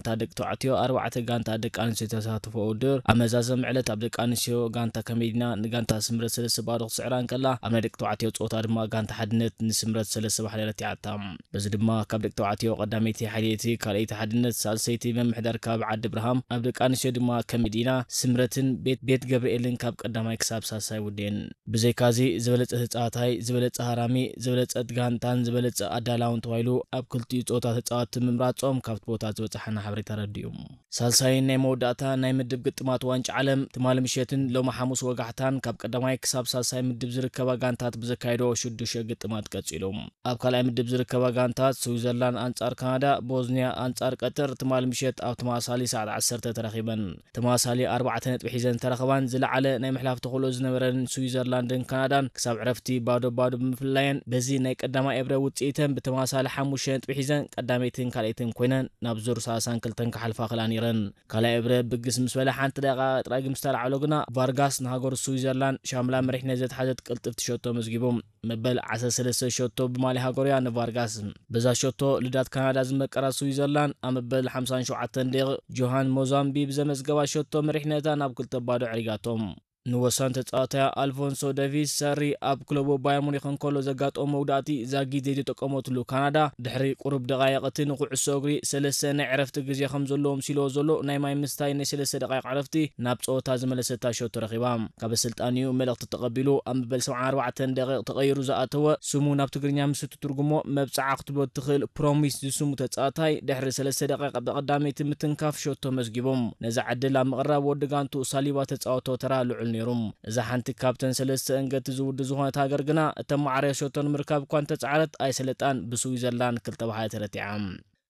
እታ ደቂ ተባዕትዮ ኣርባዕተ ጋንታ ደቂ ኣንስትዮ ተሳተፎ ውድድር ኣብ መዛዘም ዕለት ኣብ ደቂ ኣንስትዮ ጋንታ ከመይ ዲና ንጋንታ ስምረት ሰለስተ ባዶ ክትስዕራ እንከላ፣ ኣብ ናይ ደቂ ተባዕትዮ ጸወታ ድማ ጋንታ ሓድነት ንስምረት ሰለስተ ባሕሪ ረቲዓታ። በዚ ድማ ካብ ደቂ ተባዕትዮ ቀዳመይቲ ሓይሌቲ፣ ካልኣይቲ ሓድነት፣ ሳልሰይቲ መምሕደር ካብ ዓዲ ብርሃም፣ ኣብ ደቂ ኣንስትዮ ድማ ከመይ ዲና ስምረትን ቤት ቤት ገብርኤልን ካብ ቀዳማይ ክሳብ ሳልሳይ ውዴን። ብዘይካዚ ዝበለጸ ተጻዋታይ፣ ዝበለጸ ሃራሚ፣ ዝበለጸት ጋንታን ዝበለጸ ኣዳላውን ተባሂሉ ኣብ ክልቲኡ ጾታ ተጻወትቲ ምምራጾም ካብቲ ቦታ ዝበጻሓና ሓበሬታ ኣረዲኡ። ሳልሳይን ናይ መወዳእታ ናይ ምድብ ግጥማት ዋንጫ ዓለም ትማሊ ምሸትን ሎሚ ሓሙስ ወጋሕታን ካብ ቀዳማይ ክሳብ ሳልሳይ ምድብ ዝርከባ ጋንታት ብዘካየዶ ሽዱሽተ ግጥማት ቀጺሉ። ኣብ ካልኣይ ምድብ ዝርከባ ጋንታት ስዊዘርላንድ ኣንጻር ካናዳ፣ ቦዝንያ ኣንጻር ቀጠር ትማሊ ምሸት ኣብ ተመሳሳሊ ሰዓት ዓሰርተ ተራኺበን። ተመሳሳሊ ኣርባዕተ ነጥቢ ሒዘን ዝተረኸባን ዝለዓለ ናይ ምሕላፍ ተኽእሎ ዝነበረን ስዊዘርላንድን ካናዳን ክሳብ ዕረፍቲ ባዶ ባዶ ብምፍላየን በዚ ናይ ቀዳማይ ኤብረ ውጽኢተን ብተመሳሳሊ ሓሙሽተ ነጥቢ ሒዘን ቀዳመይትን ካልኣይትን ኮይነን ናብ ዙር ሰላሳን ክልተን ክሓልፋ ክላ ነይረን። ካልኣይ ኤብረ ብግስ ምስ በለ ሓንቲ ደቂቃ ጥራይ ግን ምስ ተላዕሎ ግና ቫርጋስ ንሃገሩ ስዊዘርላንድ ሻምላ መሪሕነት ዘትሓዘት ቅልጥፍቲ ሸቶ መዝጊቡ። መበል ዓሰርተ ሰለስተ ሸቶ ብማሊ ሃገሩያ ንቫርጋስ። በዛ ሸቶ ልዳት ካናዳ ዝመቀራ ስዊዘርላንድ ኣብ መበል ሓምሳን ሸውዓተን ደቂቕ ጆሃን ሞዛምቢ ብዘመዝገባ ሸቶ መሪሕነታ ናብ ክልተ ባዶ ዕሪጋቶም። ንወሳኒ ተጻዋታያ ኣልፎንሶ ደቪስ ሰሪ ኣብ ክለቡ ባየር ሙኒክ እንከሎ ዘጋጠሞ መውዳእቲ ዛጊት ዘይተጠቀመትሉ ካናዳ ድሕሪ ቁሩብ ደቓይቕ እቲ ንኩዕሶ እግሪ ሰለስተ ናይ ዕረፍቲ ግዜ ከም ዘለዎ ምስልዎ ዘሎ ናይ ማይ ምስታይ ናይ ሰለስተ ደቓይቕ ዕረፍቲ ናብ ጸወታ ዝመለሰታ ሸቶ ረኺባ። ካብ ኣሰልጣኒኡ መልእኽቲ ተቐቢሉ ኣብ መበል ሰብዓን ኣርባዕተን ደቂቕ ተቐይሩ ዝኣተወ ስሙ ናብ ትግርኛ ምስ እትትርጉሞ መብጽዓ ክትብሎ እትኽእል ፕሮሚስ ዝስሙ ተጻዋታይ ድሕሪ ሰለስተ ደቂቕ ብቐዳመይቲ ምትንካፍ ሸቶ መዝጊቡ። ነዛ ዕድል ኣብ ምቕራብ ወዲ ጋንቱ ሳሊባ ተጻወቶ ተራ ልዑል ነይሩ። እዛ ሓንቲ ካብተን ሰለስተ እንገቲ ዝውዲ ዝኾነት ሃገር ግና እተመዓረየ ሸቶ ንምርካብ እኳ እንተጻዕረት ኣይሰለጣን ብስዊዘርላንድ ክልተ ብሓደ ተረቲዓ።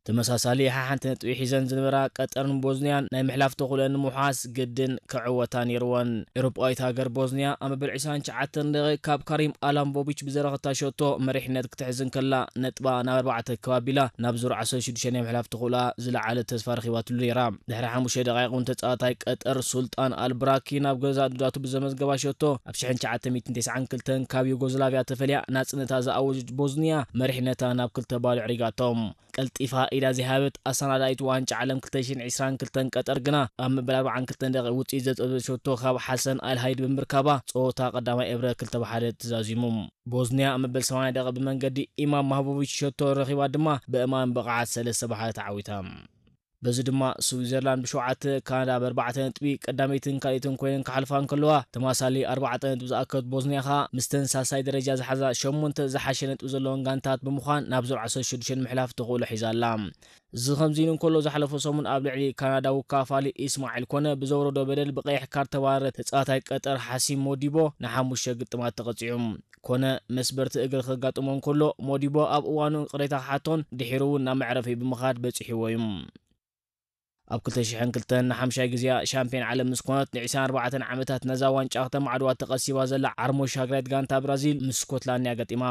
ተመሳሳሊ ሓሓንቲ ነጥቢ ሒዘን ዝነበራ ቀጠርን ቦዝንያን ናይ ምሕላፍ ተኽእሎአን ንምውሓስ ግድን ክዕወታ ነይርወን። ኤውሮጳዊት ሃገር ቦዝንያ ኣብ መበል ዕስራን ትሽዓተን ደቂቕ ካብ ካሪም ኣላምቦቪች ብዘረኸታ ሸቶ መሪሕነት ክትሕዝ እንከላ ነጥባ ናብ ኣርባዕተ ክብ ኣቢላ ናብ ዙር ዓሰርተ ሽዱሽተ ናይ ምሕላፍ ተኽእሎኣ ዝለዓለ ተስፋ ረኺባትሉ ነይራ። ድሕሪ ሓሙሽተ ደቂቕ እውን ተጻዋታይ ቀጠር ሱልጣን ኣልብራኪ ናብ ገዛእ ዱዳቱ ብዘመዝገባ ሸቶ ኣብ ሽሕን ትሽዓተ ሚእትን ተስዓን ክልተን ካብ ዩጎዝላቪያ ተፈልያ ናጽነታ ዝኣወጀት ቦዝንያ መሪሕነታ ናብ ክልተ ባዶ ዕሪጋቶም። ቀልጢፋ ኢዳ ዘይሃበት ኣሰናዳኢት ዋንጫ ዓለም ክልተ ሽሕን ዕስራን ክልተን ቀጠር ግና ኣብ መበል ኣርባዓን ክልተን ደቂቕ ውጽኢት ዘጠበሸቶ ካብ ሓሰን ኣልሃይድ ብምርካባ ጸወታ ቀዳማይ ኤብረ ክልተ ብሓደ ተዛዚሙ። ቦዝንያ ኣብ መበል ሰማንያ ደቂቕ ብመንገዲ ኢማም ማህቦቪች ሸቶ ረኺባ ድማ ብእማን ብቕዓት ሰለስተ ብሓደ ተዓዊታ። በዚ ድማ ስዊዘርላንድ ብሸውዓተ፣ ካናዳ ብኣርባዕተ ነጥቢ ቀዳመይትን ካልኣይትን ኮይነን ክሓልፋ እንከለዋ፣ ተማሳሊ ኣርባዕተ ነጥቢ ዝኣከብት ቦዝንያ ኸኣ ምስተን ሳልሳይ ደረጃ ዝሓዛ ሸሞንተ ዝሓሸ ነጥቢ ዘለወን ጋንታት ብምዃን ናብ ዙር ዓሰርተ ሽዱሽተ ንምሕላፍ ተኽእሎ ሒዛ ኣላ። እዚ ከምዚ ኢሉ እንከሎ፣ ዝሓለፈ ሰሙን ኣብ ልዕሊ ካናዳዊ ካፋሊ ኢስማዒል ኮነ ብዘውረዶ በደል ብቐይሕ ካርድ ተባረረ ተጻዋታይ ቀጠር ሓሲም ሞዲቦ ንሓሙሽተ ግጥማት ተቐጺዑ። ኮነ መስበርቲ እግሪ ከጋጥሞ እንከሎ፣ ሞዲቦ ኣብ እዋኑ ቅሬታ ክሓቶን ድሒሩ እውን ናብ መዕረፊ ብምኻድ በጺሕዎ እዩ። ኣብ ክልተ ሽሕን ክልተን ንሓምሻይ ግዜኣ ሻምፒዮን ዓለም ምስ ኮነት፣ ንዕስራን ኣርባዕተን ዓመታት ነዛ ዋንጫ ከተማዕድዋ ተቐሲባ ዘላ ዓርሞሽ ሃገራዊት ጋንታ ብራዚል ምስ ስኮትላንድ እያ ገጢማ።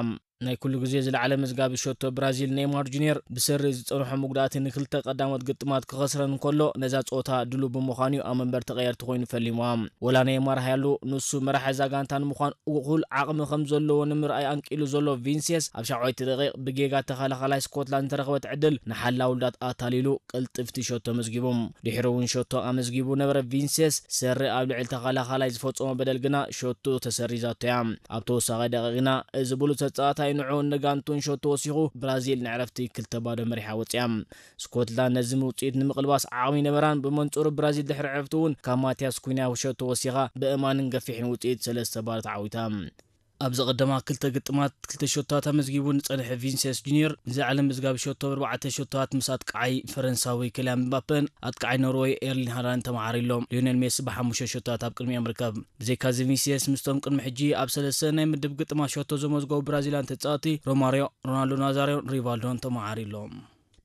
ናይ ኩሉ ግዜ ዝለዓለ መዝጋቢ ሸቶ ብራዚል ኔይማር ጁኒየር ብሰሪ ዝጸንሖ መጉዳእቲ ንክልተ ቀዳሞት ግጥማት ክኸስረን እንከሎ፣ ነዛ ጸወታ ድሉው ብምዃኑ እዩ ኣብ መንበር ተቐየርቲ ኮይኑ ፈሊምዋ። ወላ ኔይማር ሃያሉ፣ ንሱ መራሒ እዛ ጋንታ ንምዃን እኹል ዓቕሚ ከም ዘለዎ ንምርኣይ ኣንቂሉ ዘሎ ቪንሲየስ፣ ኣብ ሻውዓይቲ ደቂቕ ብጌጋ ተኸላኻላይ ስኮትላንድ ዝተረኸበት ዕድል ንሓላው ልዳት ኣታሊሉ ቅልጥፍቲ ሸቶ ኣመዝጊቡ። ድሒሩ እውን ሸቶ ኣመዝጊቡ ነበረ። ቪንሲየስ ሰሪ ኣብ ልዕሊ ተኸላኻላይ ዝፈጸሞ በደል ግና ሸቶ ተሰሪዛቶ እያ። ኣብ ተወሳኺ ደቂቕ ግና እዚ ብሉጽ ተጻዋታይ ንዕኡን ንጋንቱን ሸቶ ወሲኹ ብራዚል ንዕረፍቲ ክልተ ባዶ መሪሓ ወጺኣ። ስኮትላንድ ነዚ ውጽኢት ንምቕልባስ ዓቕሚ ነበራን፣ ብመንጽሩ ብራዚል ድሕሪ ዕረፍቲ እውን ካብ ማቲያስ ኩኛ ሸቶ ወሲኻ ብእማንን ገፊሕን ውጽኢት ሰለስተ ባዶ ተዓዊታ። ኣብዚ ቀደማ ክልተ ግጥማት ክልተ ሸቶታት ኣመዝጊቡ ዝጸንሐ ቪንሲየስ ጁኒየር፣ ንዝለዓለ መዝጋቢ ሸቶ ብኣርባዕተ ሸቶታት ምስ ኣጥቃዓይ ፈረንሳዊ ኪልያን ምባፔን ኣጥቃዓይ ኖርወይ ኤርሊን ሃላንድ ተመዓሪሎም። ሊዮኔል ሜሲ ብሓሙሽተ ሸቶታት ኣብ ቅድሚኦም ይርከብ። ብዘይካዚ ቪንሲየስ ምስቶም ቅድሚ ሕጂ ኣብ ሰለስተ ናይ ምድብ ግጥማት ሸቶ ዘመዝገቡ ብራዚልያን ተጻወቲ ሮማርዮ፣ ሮናልዶ ናዛርዮን ሪቫልዶን ተመዓሪሎም።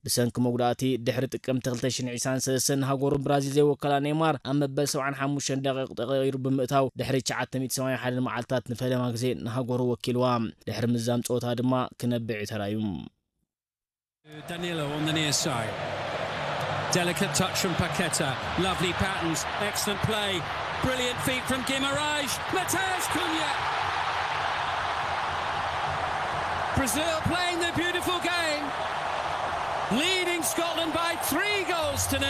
ብሰንኪ መጉዳእቲ ድሕሪ ጥቅምቲ ክልተ ሽሕን ዕስራን ሰለስተን ንሃገሩ ብራዚል ዘይወከላ ኔይማር ኣብ መበል ሰብዓን ሓሙሽተን ደቂቕ ተቐይሩ ብምእታው ድሕሪ ትሽዓተ ሚእቲ ሰማንያን ሓደን መዓልታት ንፈለማ ግዜ ንሃገሩ ወኪልዋ። ድሕሪ ምዝዛም ጸወታ ድማ ክነብዕ እዩ ተራእዩ። Danilo on the near side. Delicate touch from Paqueta. Lovely patterns. Excellent play. Brilliant feet from Guimaraes. Mateus Cunha. Brazil playing the beautiful game. Leading Scotland by three goals to nil.